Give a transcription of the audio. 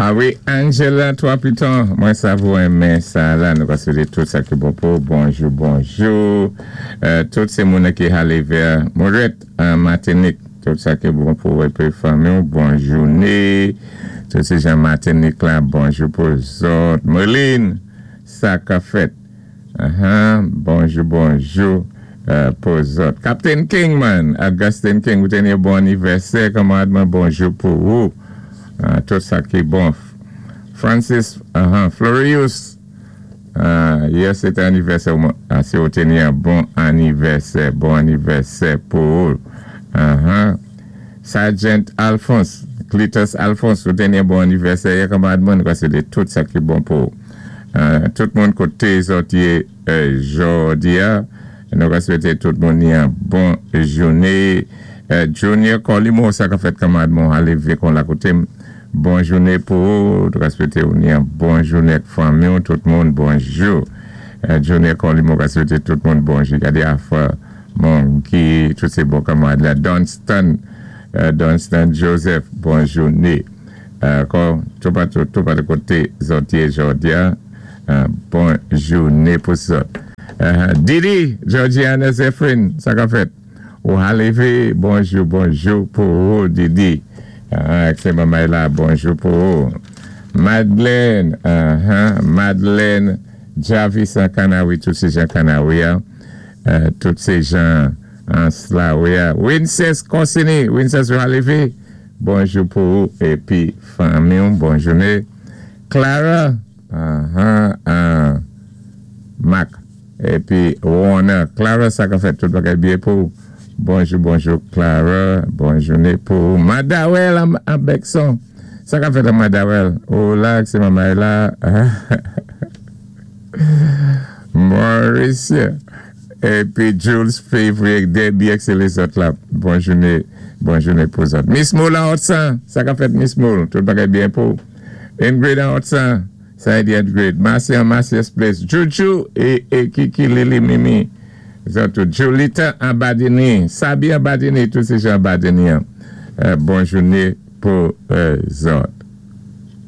A wi, Angela 3 Piton, mwen sav ou renmen sa la, nou ka swété tout sa ki bon pou, bonjou, bonjou. Tout sé moun ki ale vè Moret an Matinik, tout sa ki bon pou épi fanmi ou, bon jouné. Tout sé jan Matinik la, bonjou pou zòt. Merline, sa ka fèt? Bonjou, bonjou pou zòt. Captain King man, Augustine King, ou té ni bon anivèsè, kanmarad mwen, bonjou pou ou. Tout sa ki bon. Francis Florius, yè sé té anivèsè ou, si ou té ni yon bon anivèsè, bon anivèsè pou ou. Sergeant Alphonse, Cletus Alphonse, ou té ni yon bon anivèsè yè, kanmarad mwen, nou ka swété tout sa ki bon pou ou. Tout moun koté zòt yé jòdi a, nou ka swété tout moun ni yon bon jouné. Junior Colimo, sa ka fèt, kanmarad mwen, alé vé kon la koté m. Bon jouné pou ou, nou ka swété ou ni yon bon jouné ak fanmi ou, tout moun bonjou. Junior Colimo ka swété tout moun bonjou. Gadé afè moun ki tout sé bon kanmarad la. Dunstan, Dunstan Joseph, bon jouné. Ankò, toupatou, toupatou koté zòt yé jòdi a, bon jouné pou zòt. Didi, Georgiana Zephyrin, sa ka fèt? Ou aleve, bonjou, bonjou pou ou, Didi. Ak sé manmay la, bonjou pou ou. Madeleine, Madeleine Javis an Kanawi, tout sé jan Kanawi a, tout sé jan Anslawi a. Winces Corsini, Winces ou aleve, bonjou pou ou épi fanmi ou, bon jouné. Clara, Mac. Épi Warner, Clara, sa ka fèt? Tout bagay byen pou ou? Bonjou, bonjou Clara, bon jouné pou ou. Madawel an Bekson, sa ka fèt an Madawel? Ou la ak sé manmay la. Maurice épi Jules Février, Debbie ak sé lézòt la, bon jouné, bon jouné pou zòt. Miss Moule an Otsan, sa ka fèt, Miss Moule? Tout bagay byen pou ou? Ingrid an Otsan, sa di Ingrid, Marcia an Marcia's Place, Juju é Kiki, Lili, Mimi, zòt tout. Julita an Badini, Sabi an Badini, tout sé jan Badini an. Bon jouné pou zòt.